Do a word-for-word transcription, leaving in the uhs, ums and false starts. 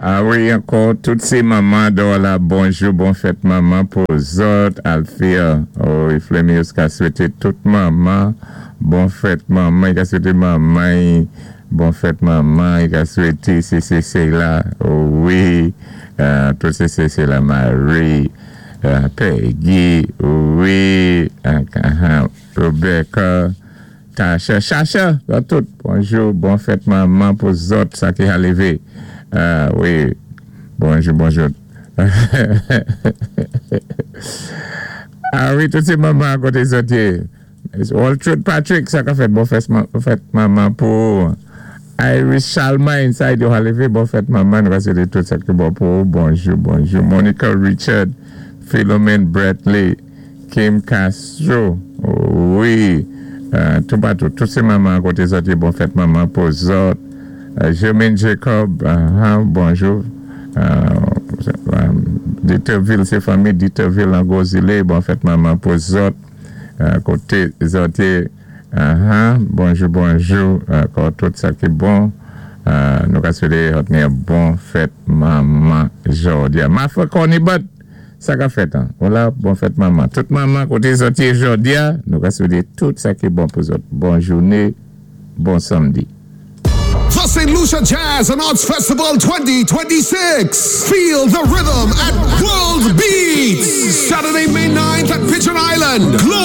A wi, ankò, tout sé manman dò la, bonjou, bon fèt manman pou zòt, Althea, oh, Flemius ka swété tout manman, bon fèt manman, i ka swété manman, bon fèt manman, i ka swété C C C la, oh wi, euh, tout C C C la, Marie, euh, Peggy, wi, euh, Rebecca, Tasha, Chacha, la tout, bonjou, bon fèt manman pou zòt, sa ki a lévé. Ah wi, bonjou, bonjou. A wi, tout sé manman koté zòt yé. Waltrud Patrick, sa ka fèt, bon fèt, fèt manman pou Iris Chalmain, sa yo a lévé, bon fèt manman, nou va swété tout sa ki bon pou, bonjou, bonjou. Monica Richard, Philomene Bradley, Kim Castro, wi, euh, tout patou, tout sé manman koté zòt yé, bon fèt manman pou zòt. Euh, Jermaine Jacob, uh, bonjou. Euh, Dieterville, sé fanmi Dieterville an Gozile, bon fèt manman pou zòt. Euh, koté zòt yé, uh, bonjou, bonjou, euh, tout sa ki bon. Euh, nou ka swété bon fèt manman jòdi a. Ma frè Connie Butt, sa ka fèt, hein? Wala, bon fèt manman. Tout manman koté zòt yé jòdi a, nou ka swété tout sa ki bon pou zòt. Bon jouné, bon sanmdi. The Saint Lucia Jazz and Arts Festival twenty twenty-six. Feel the rhythm at World Beats. Saturday, May ninth at Pigeon Island. Global